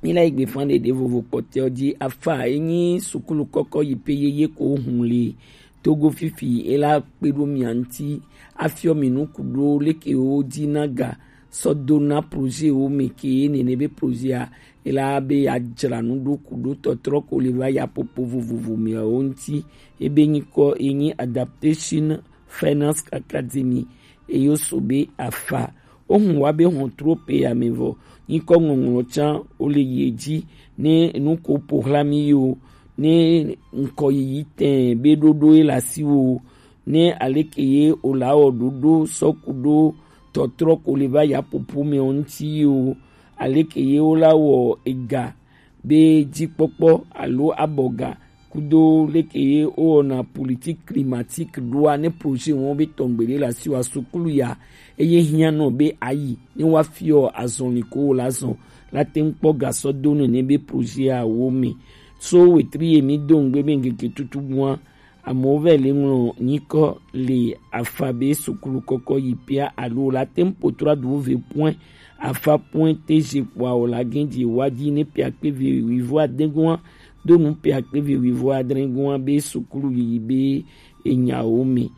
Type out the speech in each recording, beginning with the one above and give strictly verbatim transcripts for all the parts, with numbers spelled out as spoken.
Mi la yi gbe fan ɖeɖe vovo kpɔtɛ ɔ ji afa enyi sukulu kɔkɔ yi pe yeye ko hun le Togo fifi e la kpe ɖo mia ŋuti afiɔ mi nu ku ɖo leke wo ji na ga sɔ do na projet wo me ke nene be projet a e la be ya dzra nu ɖo ku ɖo tɔtrɔ ko le va ya popo vovovo me wo ŋuti ebe nyikɔ enyi Adaptation Finance Academy eyo so be afa. Ohun wa be hɔn tro pe ya me vɔ. Nyikɔ ŋɔŋlɔ can o le ye ji ne nu ko po hla mi yo ne ŋkɔ yiyi tɛn be ɖoɖo ye la si wo ne aleke ye o la wɔ ɖoɖo sɔku ɖo tɔtrɔ ko le va ya popo me ŋuti yo aleke ye o la wɔ ega be jikpɔkpɔ alo abɔga kudo leke ye wowɔna politique climatique ɖoa ne projet wɔn be tɔngbe ɖe le asi wa sukulu ya eye hiã nɔ be ayi ne wa fiɔ azɔli ko wo la zɔn la te ŋu kpɔ gasɔ do nene be projet awo me. So wetri ye mi do ŋgbe be ŋkeke tutu gua amewo vɛ le ŋlɔ nyikɔ le afa be sukulu kɔkɔ yi pia alo la te ŋu potra du ve point afa point tg kpɔa o la gɛn dzi wa dzi ne pia kpe ve wivo adegua do nu pia kpe ve wivo adregua be sukulu yiyi be enyawo me.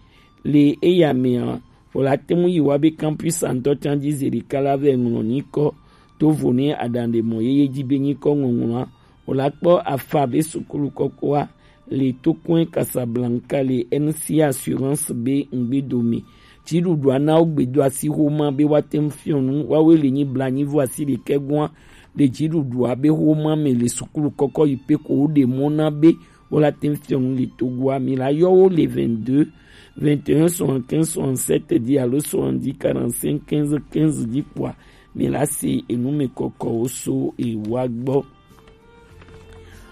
Le eya mea o la te ŋu yi wa be campus antɔ can dzi zeri kala vɛ ŋlɔ nyikɔ to vo ne aɖaŋɖe mɔ yeye dzi be nyikɔ ŋɔŋlɔa o la kpɔ afa be sukulu kɔkɔa le tokɔe Casablanca le N C Assurance be ŋgbedo me. Dziɖuɖua na wo gbedo asi xoma be woate ŋu fiɔ nu woawoe le nyi blanyivo asi ɖekɛ gɔa le dziɖuɖua be xoma me le sukulu kɔkɔ yi pe ko wo ɖe mɔ na be wo la te ŋu fiɔ nu le Togoa mi la yɔ wo le vingt-deux vingt et un soixante-quinze soixante-sept dzi alo soixante-dix quarante-cinq quinze quinze dzi kpɔa mi la se enu me kɔkɔwo so ewa gbɔ.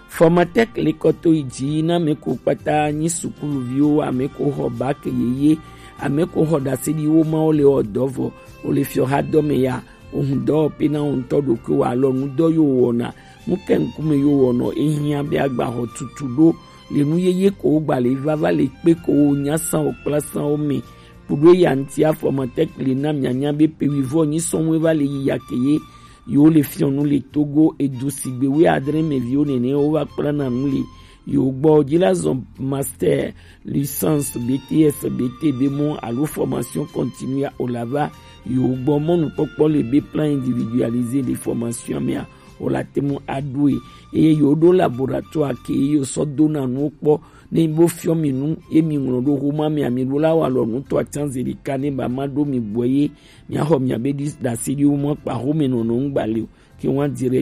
Fɔmatɛk le kɔto yi dzi na ame ko kpata nyi sukuluviwo, ame ko xɔ bak yeye, ame ko xɔ ɖaseɖiwo mawo le wɔ dɔ vɔ o le fiɔ xa dɔ me ya. Ohun dɔ pe na wo ŋutɔ ɖokui wa alɔ nu dɔ yo wɔna nu ke ŋkume yo wɔnɔ ehiã be agba xɔ tutu ɖo le nu yeye ko wo gba le vava le kpe ko wo nya san wo kpla san wo me. Kuɖo ya ŋuti afɔmatɛk le na mianya be pe wivɔ nyi sɔn wo va le yi ya ke ye yo le fiɔ nu le Togo edu sigbe wi adre me viwo nene wo va kpla na nu le yo gbɔ dzi la zɔn master, licence, B T S, B T B mɔ alo formation continue o la va yo gbɔ mɔnukpɔkpɔ le be plan individualisé de formation mea o la te mu aɖoe eye yo ɖo laboratoire ke yo sɔ dona nuwo kpɔ ne bo fiɔ mi nu ye mi ŋlɔ ɖo xoma mea mi ɖo la wa lɔ nutɔ atsan zeli ka ne ba ma ɖo mi bɔe ye mia xɔ mia be ɖi ɖase ɖi wo mɔ kpa xome nɔnɔ ŋgba le o ke wa direct